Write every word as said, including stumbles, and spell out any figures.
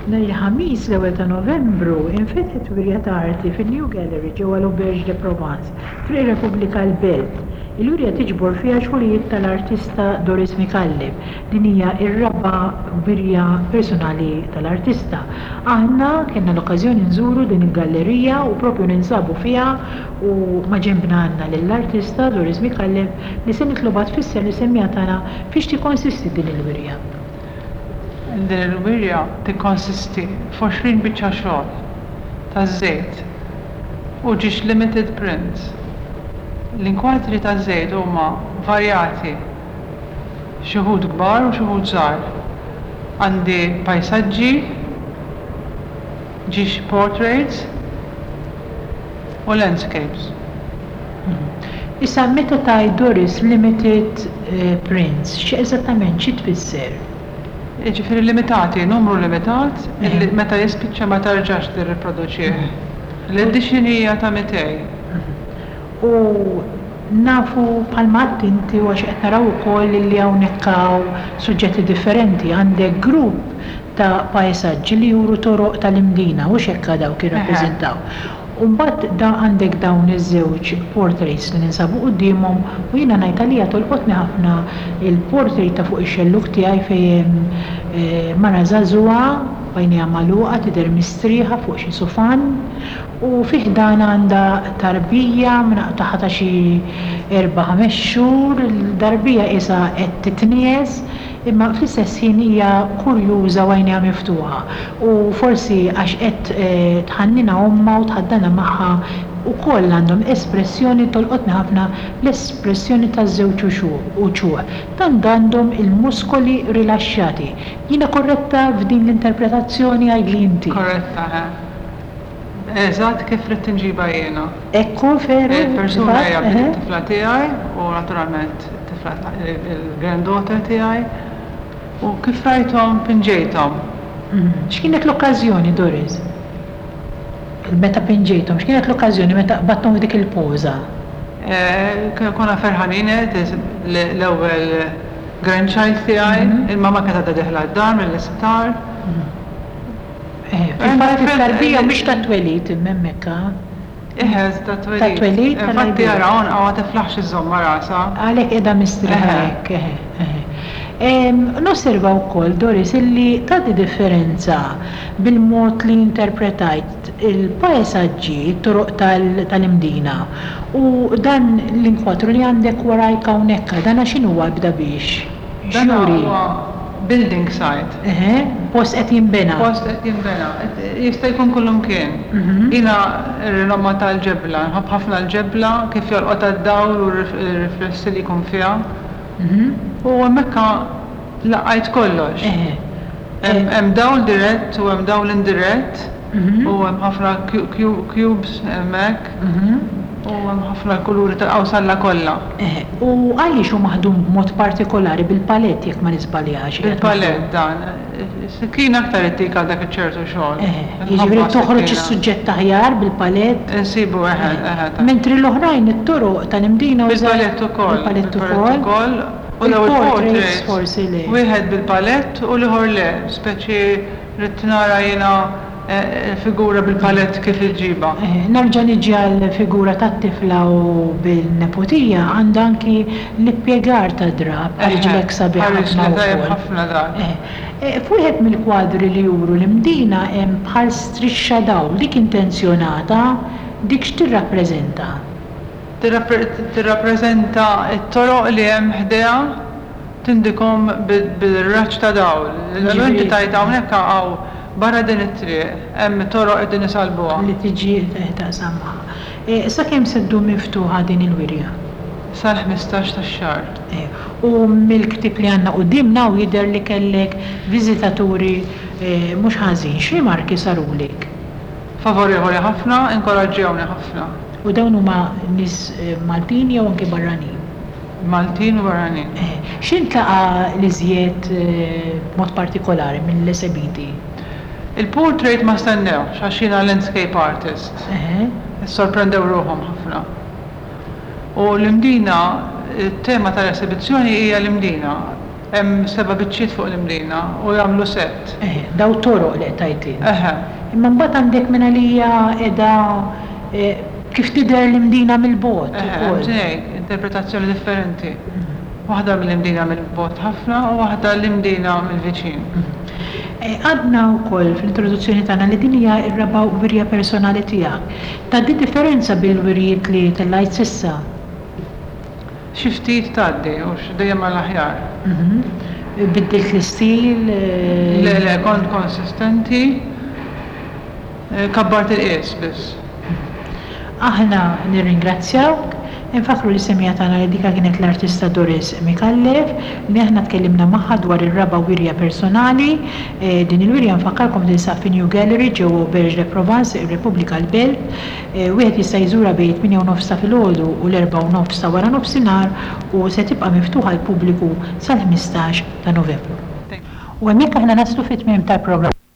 Nhar il-Ħamis l-ewwel ta' Novembru infetħet wirja ta' arti fin-New Gallery ġewwa l-Auberge de Provence, Triq ir-Repubblika l-Belt. Il-wirja tiġbor fiha xogħlijiet tal-artista Doris Micallef. Din hija r-raba' wirja personali tal-artista. Aħna kellna l-okkażjoni nżuru din il-gallerija u propju ninsabu fiha u maġenbna għandna lill-artista Doris Micallef li se nitlobha tfisser lis-semmiegħa tagħna fiex tikkonsisti din il-wirja. Din il-wirja tikkonsisti f'għoxrin biċċa xogħol taż-żejt u ġiex limited prints. L-inkwadri taż-żejt huma varjati, xi wħud kbar u xi wħud żgħar. Għandi pajsaġġi, ġiex portraits u landscapes. Issa, meta tgħid, Doris, limited eh, prints, xi eżattament xi tfisser? Jiġifieri limitati, numru limitat, illi meta jispiċċa ma terġax tirriproduċih. L-edition hija ta' mitejn. U nafu bħalma għedt inti u għax qed naraw ukoll li hawnhekk hawn suġġetti differenti. Għandek grupp ta' pajsaġġi li juru toroq tal-Imdina u xekka dawk jirrappreżentaw. U mbagħad da għandek dawn iż-żewġ portraits li ninsabu quddiemhom u jiena ngħid għalija tolqotni ħafna il-portrait ta' fuq ix-xelluk tiegħi fejn hemm eh, mara żagħżugħa b'għajnejha magħluqa, tidher mistrieħa fuq xi sufan u fih dan għandha tarbija tagħha ta' xi erba' ħames xhur, il-tarbija isa qed titnies, imma fl-istess ħin hija kurjuża u għajnejha miftuħa. U forsi għax qed eh, tħannina ommha u tħaddana magħha ukoll għandhom espressjoni, tolqotni ħafna l-espressjoni taż-żewġ uċuħ. Tant għandhom il-muskoli rilaxxati. Jiena korretta f'din l-interpretazzjoni? Għidli inti. Korretta, he. Eżatt kif ridt inġibha jiena. Ekku, veru. Il-persuna hija eħe. it-tifla tiegħi u naturalment it-tifla il-granddaughter tiegħi u kif rajthom pinġejthom. Mhm. X'kienet l-okkażjoni, Doris? Meta pinġejthom, x'kienet l-okkażjoni meta qbadthom f'dik il-poża? Eh, Konna ferħanin l-ewwel grandchild tiegħi, il-mama kienet għadha dieħla d-dar mill-isptar. Eh, Fil-fatt it-tarbija mhix ta' twelid imma hemmhekk, ha? Eħe, ta' twelid. Ta' twelid, Infatti tal-għajbien. ara għonqha ma tiflaħx iżżomm rasha. Għalhekk qiegħda mistrieħa Eħe. hekk, eħe, eħe. Em, Nosserva wkoll, Doris, illi tagħti differenza bil-mod li interpretajt il-pajsaġġi, it-toroq tal-Imdina u dan l-inkwatru li għandek warajk hawnhekk, dan x'inhu bda biex? Dan X'juri? huwa building site. Eħe, post qed jinbena. Post qed jinbena. Jista' jkun kullimkien. Mhm. Jiena rinomma tal-ġebla, nħobb ħafna l-ġebla, kif jolqot d-dawl u r-riflessi li jkun fiha. Mhm. U hemmhekk laqajt kollox. Eħe. Hemm hemm dawl dirett u hemm dawl indirett Mhm. u hemm ħafna cubes hemmhekk Mhm. u hemm ħafna kuluri tal-qawsalla kollha. Eħe, u għaliex hu maħdum b'mod partikolari bil-palett, jekk ma niżbaljax? Qiegħed Bil-palett dan. Sikkina aktar ittik għal dak iċ-ċertu xogħol. Eħe, jiġifieri Nħobbha toħroġ sikkina. is-suġġett aħjar bil-palett, Insibu eħe, eħe. ta' mentri l-oħrajn, it-toroq tal-Imdina, użajt Bil-palett ukoll. Bil-palett Bil-palett ukoll. ukoll. U daw Il-portraits il-portraits forsi le. wieħed bil-palett u l-ieħor le. Speċi rrid nara jiena eh, figura bil-palett kif iġġibha. Eh, Nerġa' niġi għal figura tat-tifla u bil-neputija, għandha anki l-ippjegar ta' drab, ħariġlek sabiħ Ħareġ ħafna li tajjeb wkoll. ħafna dak. Eh, eh, F'wieħed mill-kwadri li juru l-Imdina hemm bħal strixxa dawl, dik intenzjonata, dik x'tirrappreżenta? Tirrappreżenta t-toroq li hemm ħdejha, tindikhom bil-raġġ ta' dawl. L-inti Ġifieri- tajt hawnhekk hawn barra din it-triq hemm toroq qegħdin isalbuha. Li tiġi taqsam magħha. Eh, Sakemm se ddum miftuħa din il-wirja? Sal-ħmistax tax-xahar. Eh, U mill-ktieb li għandna quddiemna u jidher li kellek viżitaturi eh, mhux ħażin, x'rimarki sarulek? Favorevoli ħafna, inkoraġġewni ħafna. U dawn huma nies eh, Maltin jew anki barranin? Maltin u barranin. Eh, X'intlaqa l-iżjed eh, b'mod partikolari mill-esebiti? Il-portrait ma stennewx, għax jiena landscape artist. Eħe, Sorprendew ruħhom ħafna. U l-Imdina, il-tema tal-esibizzjoni hija l-Imdina. Hemm seba' biċċiet fuq l-Imdina u jagħmlu set. Eħe, Daw toroq li qtajt int. Eħe. Imma mbagħad għandek minn għalija qiegħda kif tidher l-Imdina mill-bogħod ukoll. Eħe, interpretazzjoni differenti. Waħda mill-Imdina mill-bogħod ħafna u waħda l-Imdina mill-viċin. Għadna wkoll fl-introduzzjoni tagħna li din hija r-raba' wirja personali tiegħek. Tgħaddi differenza bil-wirjiet li tellajt s'issa? Xi ftit tgħaddi, hux dejjem għall-aħjar. Biddilt l-istil? Le, le, kont konsistenti. Kabbart il-qies biss. Aħna nirringrazzjawk. Infakkru lis-semmiegħa tagħna li dika kienet l-artista Doris Micallef li aħna tkellimna magħha dwar ir-raba' wirja personali. Din il-wirja nfakkarkom tinsab fi New Gallery ġewwa Auberge de Provence, ir-Repubblika l-Belt. Wieħed jista' jżurha bejn it-tmienja u nofs ta' filgħodu u l-erbgħa u nofs ta' wara nofsinhar u se tibqa' miftuħa għall-pubbliku sal-ħmistax ta' Novembru. U hemmhekk aħna naslu fit-tmiem tal-programm.